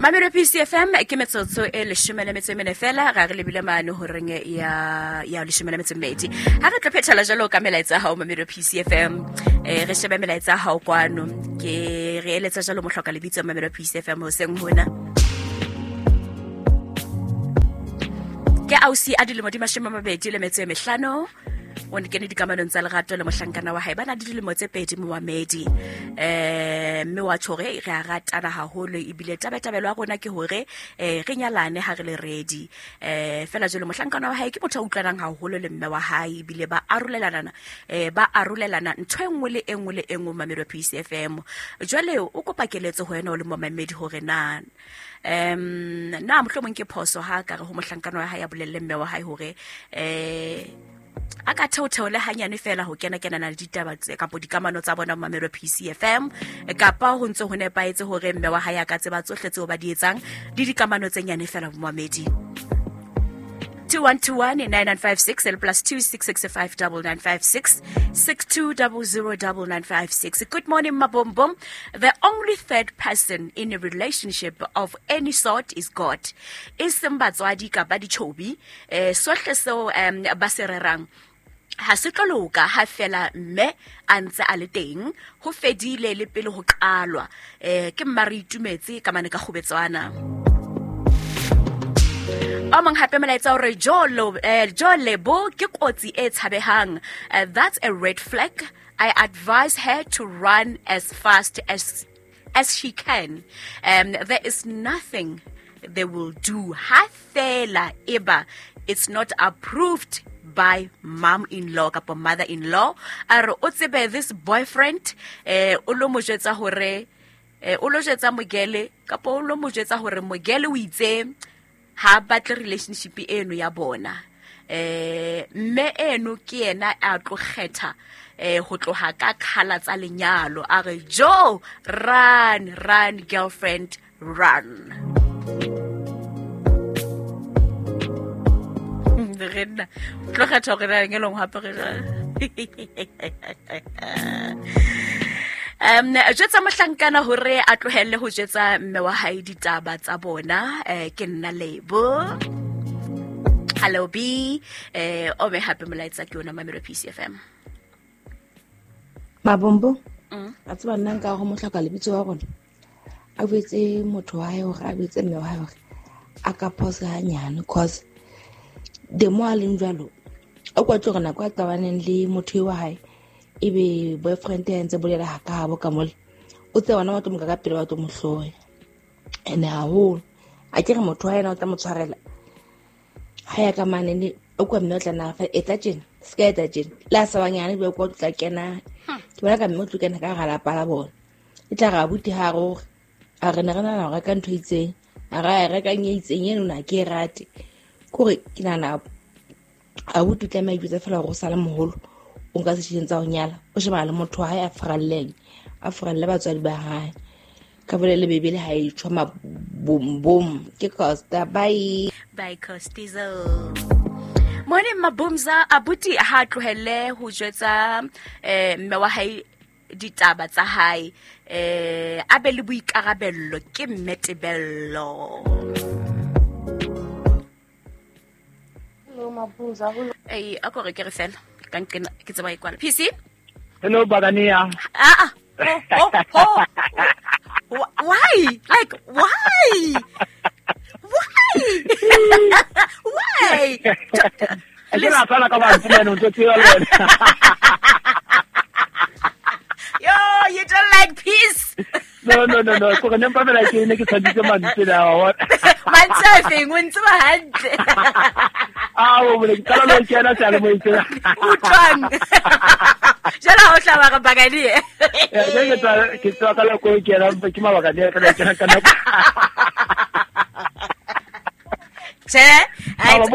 Mamelo PCFM ke metsotso e leshome le metso e mene fela ga re lebile mane horeng ya leshome le metso e mmedi. Ha re tlo phethela jalo ka melaetsa ya hao Mamelo PCFM, re shebe melaetsa ya hao kwano. Ke re eletsa jalo mohloka lebitso Mamelo PCFM hoseng hona. Ke ausi a dilemo di 25, o ne kene dikamanong tsa lerato le mohlankana wa hae, ba na le dilemo tse 2 momamedi. Mme wa tjho hore re a ratana haholo, ebile tabetabelo ya rona ke hore re nyalane ha re le ready. Fela jwale mohlankana wa hae ke motho a utlwanang haholo le mme wa hae, ebile ba arolelana, ba arolelana ntho e nngwe le e nngwe le e nngwe momamedi wa PCFM. Jwale o kopa keletso ho wena o le momamedi hore na na mohlomong ke phoso ha ka re ho mohlankana wa hae a bolelle mme wa hae hore a ka theotheole hanyane fela ho kena kenana le ditaba tse kapa dikamano tsa bona mamelo PCFM, kapa ho ntse ho nepahetse hore mme wa hae a ka tseba tsohle tseo ba di etsang le dikamano tse nyane fela momamedi. 2121 9956 and plus 2665 9956 6200 9956. Good morning, Mabombom. The only third person in a relationship of any sort is God. E seng batswadi kapa ditjhobi, sohle seo ba se rerang ha se tlo loka ha fela mme a ntse a le teng, ho fedile le pele ho qalwa. Ke mma re itumetse ka mane ka kgobetswana. O mong hape molaetsa hore jo lebo ke kotsi e tshabehang. That's a red flag. I advise her to run as fast as she can. There is nothing they will do. Ha fela eba it's not approved by mom-in-law kapa mother-in-law. A re o tsebe this boyfriend, o lo mo jwetsa hore, o lo jwetsa Mogele kapa o lo mo jwetsa hore Mogele o itse ha batle relationship eno ya bona. Mme eno ke yena a tlo kgetha ho tloha ka khala tsa lenyalo. A re jo, run, run girlfriend, run. Re nna tlo kgetha hore na lenyalong hape re jwang. Jwetsa mohlankana hore a tlohelle ho jwetsa mme wa hae ditaba tsa bona. Ke nna Lebo. Hello B. O me hape molaetsa ke yona Mamelo PCFM. Mabombo. A tseba nna nka go mohloka lebitso wa rona. A boetse motho wa hae hore a boetse mme wa hae hore a ka phosa hanyane, cause the more a leng jwalo, o kwa tlo re nako a qabaneng le motho wa hae, ebe boyfriend ya ntse bolela ha ka habo ka mole, o tse wona wa tlo mo ka pele wa tlo mo hloya. Ene haholo a ke re motho wa yena o tla mo tshwarela ha ya ka mane ne o kwa mme o tla na fa etsa tjena, se ka etsa tjena, le a sa banyane be kwa tla kena. Ke bona ka mme o tlo kena ka hara lapa la bona, e tla re abuti ha re hore a re ne re nahana ho reka ntho e itseng, a ra e rekang e itseng eno na ke e rate. Kore ke nahana abuti o tlameha a ijwetsa fela hore o sale moholo, o nka seshieng tsa ho nyala, o shebana le motho wa hae a furalleng, a furalle batswadi ba hae. Ka bolele Bebele ha e tjho mabombom. Ke Costa, bye. Bye Costizo. Morning Mabumza, abuti ha tlohelle ho jwetsa mme wa hae ditaba tsa hae, a be le boikarabello, ke mme Tebello. Hello Mabumza, hello. Ei, a ko re ke re fela ka nqena ke tseba e kwala. PC? Hello Bagania. Ah ah. Oh, oh, oh. Why? Like why? Why? Why? Ke la tsala ka ba ntsena ntse tsela le wena. Yo, you don't like peace. No. Ko re nempa fela ke ne ke tshwanetse mantswe la wa. Mantswe a feng o ntse ba hantle. Ah, o bole ke qala lo kena tsale mo itse. Utlwang. Jala ho hlaba re Baganie. Ke tswa ka la ko kena ke mabaka ne ka kena ka nako. Che? Hello.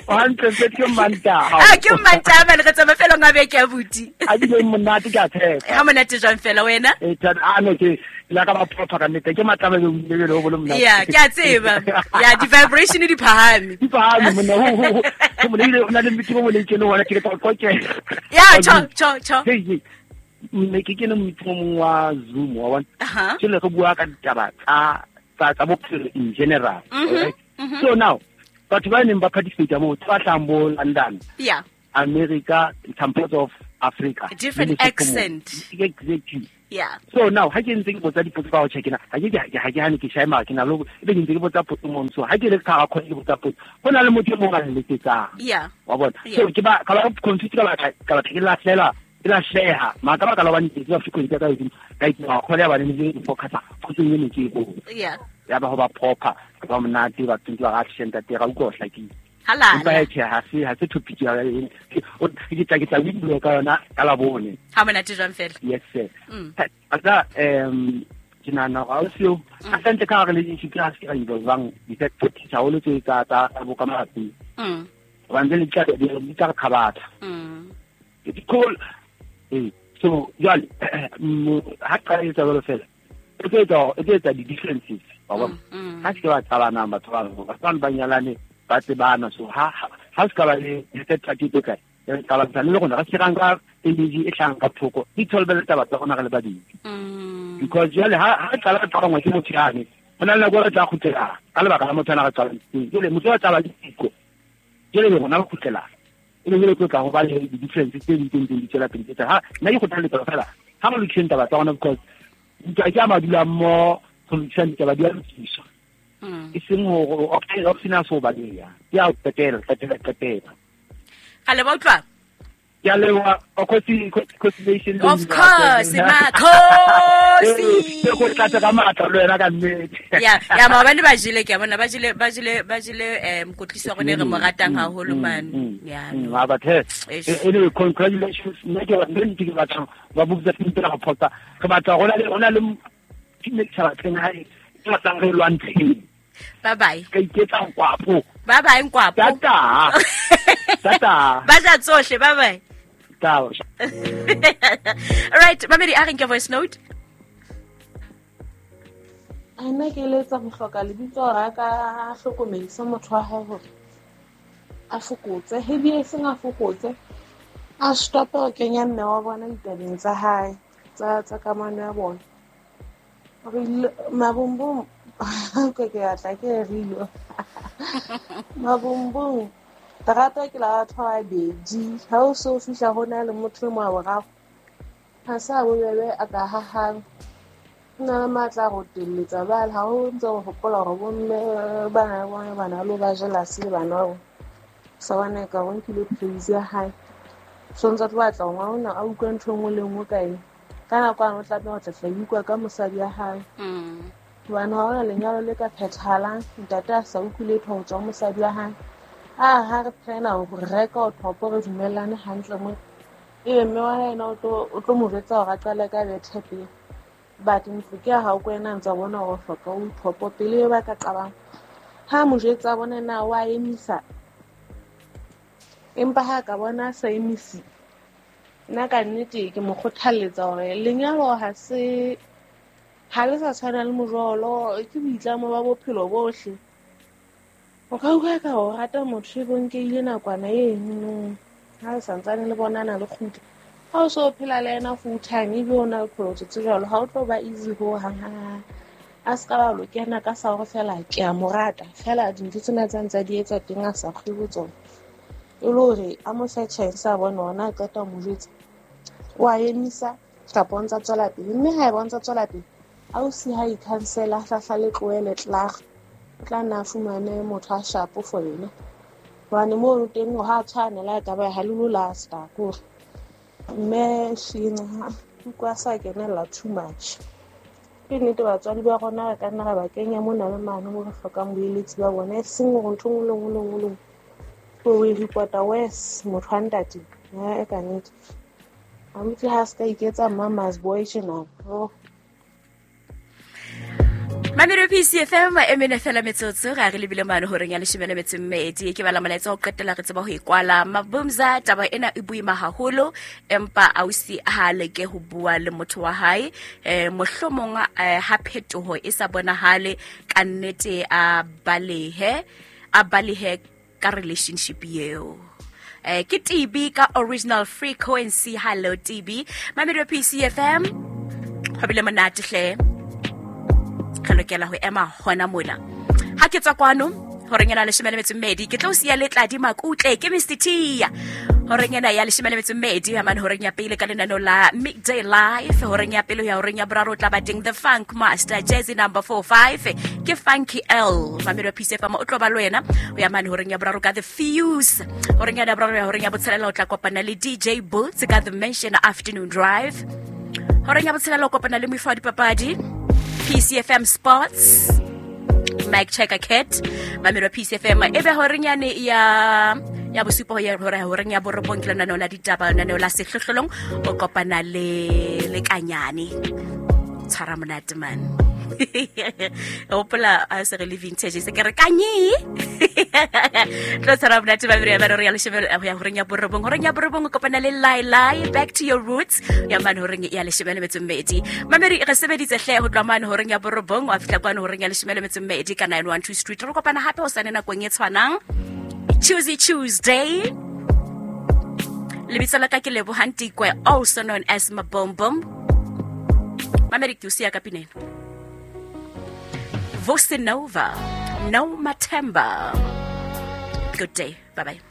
Hantle se ke Mantaha. Ah, ke Mantaha man, re tsama fela nga beke abuti. A di le monate ka tshepa. Ha monate jwang fela wena? Eh, a no ke la ka ba photha ka nnete ke matlaba le le le ho monate. Yeah, ke a tseba. Yeah, di vibration di phahame. Di phahame monna ho. Ke mo le na le mmitsi mo le ke le hona ke tla go ke. Yeah, cho cho cho. Hey. Ne ke kene meeting o mong wa Zoom, wa bona. Aha. Jwale re bua ka ditaba tsa bophelo in general. Alright? So now, batho ba neng ba participate moo, ba hlahang bo London, America, some parts of Africa. Different Le Lesotho mo. accent. Exactly. Yeah. So now, ha ke ntse ke botsa dipotso ka ho check-ina, ha ke hane ke shae mara ke na le ho- ebe ke ntse ke botsa potso mono. So ha ke le ka hara call ke botsa potso, ho na le motho e mong a nletsetsang. Wa bona? Yeah. So ke ba, ka ba confused ka baka, ka batla ke lahlela, ke lahleha. Mara ka baka la hobane ke tseba frequency ya ka e hodimo, ka itima call ya bane ne ke focus-a potsong e ne ke e botsa. Yeah. Ya ba ho ba proper, ba monate, ba tsentse ba ra action ntate, ra utlwa ho hlakile. Halala. Empa tjhe, ha se topic ya o, ke tla bua ka yona ka Labone. Ha monate jwang fela? Yes sir. Mm. Ata, ke nahana hore ha o siyo, hantle ka hare relationship ha se ka involvang di-third parties haholo tse tsa bo ka malapeng. Hobane jwale di tla re kgabatha. Ke cool. So jwale, ha qala etsa jwalo fela, e tlo etsa di-differences, wa bona? Mm. Ha se ke ba qabanang batho ba bang, batho bano ba nyalane, ba tsebana. So ha se ka ba le third party tse kae, re qabantsha le rona, re se ra nka energy e hlahang ka thoko, di tholobele taba tsa rona re le babedi. Mm. Because jwale ha re qala re qabangwa ke motho yane, ho na le nako e re tla kgutlela ka lebaka la motho ana re qabantshitseng. Jwale motho wa tla ba le siko, jwale le rona re kgutlela. E be jwale tlo tla ho ba le di-difference tse ding tse ntseng di tswela pele tse tla. Ha, nna ke kgothaletsa fela, ha re lokiseng taba tsa rona, because ntwa ke a madula mmoho, ho lokisa ditaba di a lokiswa. Mm. E seng hore, okay, option ya so baleha. Ke ya ho qetela, qetela, qetela. Ga le ba utlwa? Ke a leboha, Kgosi, Kgosi, Kgosi Nation le Of Mmino wa course, Tsena. Makhosi. Ee, ke go tlatse ka matla le wena ka nnete. Ya, maobane ba jele, ke a bona, ba jele, mokwetlisi wa rona e re mo ratang haholo, man. Ya, no. But hey, Eish. anyway, congratulations. Nna ke batla, nna ke batla ba botsa tse la go phosa. Re batla ho na le team e ke sa batleng hae, ke batlang re lwantsheng. Bye bye. Ka iketsa nkwapo. Bye bye, nkwapo. Tata. Tata. Ba ja tsohle, bye bye. Ciao. All right, mamedi, a re nke voice note. A nna ke eletsa go hloka lebitso hore a ka hlokomedisa motho wa hae hore a fokotse, ebile e seng a fokotse, a stope ho kenya mme wa bona ditabeng tsa hae, tsa kamano ya bona. Re ile mabombong, ke batla ke e rile. Mabombong, terata ke la batho ba babedi. Ha o so fihla ho na le motho e mong wa boraro, ha se a bobebe a ka hahang. O na le matla a go telletsa bale, ha o ntse o hopola hore bo mme ba na le bona bana le ba jealous le bana ba bona. Sa bona e ka o nkile praise ya hae. So ntse a tlo batla hore ngwana ona a utlwe ntho e nngwe le e nngwe ka eng. Ka nako ane o tlameha ho tla tla utlwa ka mosadi ya hae. Mm. Hobane ha hona lenyalo le ka phethahalang, ntate a sa utlwe letho ho tswa ho mosadi wa hae. A ha re plan-a ho reka o thopo re dumellane hantle mo. Ebe mme wa hae yena o tlo mo jwetsa hore a qale ka bethe pele. But ntlo ke ya hao ko wena a ntsa bona hore o hloka o thopo pele ebe ba ka qabang. Ha mo jwetsa bona na wa emisa. Empa ha ka bona a sa emise, nna ka nnete ke mo kgothalletsa hore lenyalo ha se, ha le sa tshwana le mojolo, ke boitlamo ba bophelo bohle. O ka utlwa ka o rata motho e bo nkehile nakwana eno, ha le santsane le bonana le kgutla. Ha o so phela le yena full time, ebe o na le qholotso tse jwalo, ha o tlo ba easy ho hang hang hang. A se ka ba lo kena ka sa hore fela ke a mo rata, fela dintho tsena tsa ntse a di etsa teng a sa kgwe ho tsona. E le hore a mo fe chance a bone hore na qeta ho mo jwetsa, o a emisa kapa o ntsa tswela pele. Mme ha eba o ntsa tswela pele, ausi ha i-cancel-a, a hlahla le tlohele klaar, o tla nna a fumane motho a sharp for yena. Hobane mono teng ha a tshwane le ha ekaba ha le lo lasta, ke hore mme sheng ha utlwa a sa kenella too much. Ke nnete batswadi ba rona re ka nna ra ba kenya mona le mane mo re hlokang boeletsi ba bona, e seng hore ntho e nngwe le nngwe le nngwe le nngwe o e report-a worse motho wa ntate. E ka nnete. Abuti ha se ka iketsa mama's boy tjena. Oh. Mamelo PCFM e mene fela metsotso ga re lebile mane horeng ya leshome le metso e mmedi. Ke bala molaetsa ho qetela re tseba ho e kwala. Mabumza, taba ena e boima haholo, empa ausi ha leke ho bua le motho wa hae. Mohlomong, ha phetoho e sa bonahale ka nnete a balehe ka relationship eo. Ke TB ka original frequency. Hello TB, mamedi wa PCFM, go bile monate hle. Re lokela ho ema hona mona. Ha ke tswa kwano horeng ena 12 ke tlo siya letladi makutle ke Mr T. Horeng ena ya 12 ya mane horeng ya pele ka lenaneo la Midday Life. Horeng ya pele ya horeng ya boraro o tla ba teng The Funk Master Jazzy number 45 ke Funky L. Mamedi wa PCFM o tlo ba le wena ho ya mane horeng ya boraro ka The Fuse. Horeng ya boraro ya horeng ya botshelela o tla kopana le DJ Boots ka The Mansion Afternoon Drive. Horeng ya botshelela o kopana le moifo wa dipapadi PCFM Sports Mike Checker Cat. Mamedi wa PCFM, e be horeng yane ya bosupa ho ya hore horeng ya borobong ke lenaneo la ditaba, lenaneo la sehlohlolong, o kopana le Kanyane. Tshwara monate man. Hopola a se re le vintage se ke re kanye. Tlo tshwara monate ba bere ba re ya leshome ho ya horeng ya borobong. Horeng ya borobong o kopana le Lai Lai Back to Your Roots ya mane horeng ya 12. Mamedi, re sebeditse hle ho tloha mane horeng ya borobong wa fihla kwano horeng ya 12 ka 912 Street. Re kopana hape hosane nakong e tshwanang, Tuesday Tuesday. Lebitso la ka ke Lebohang Tikwe, also known as Mabombom. Mamedi, ke o siya ka pineno. Vosinova, No Matemba. Good day. Bye bye.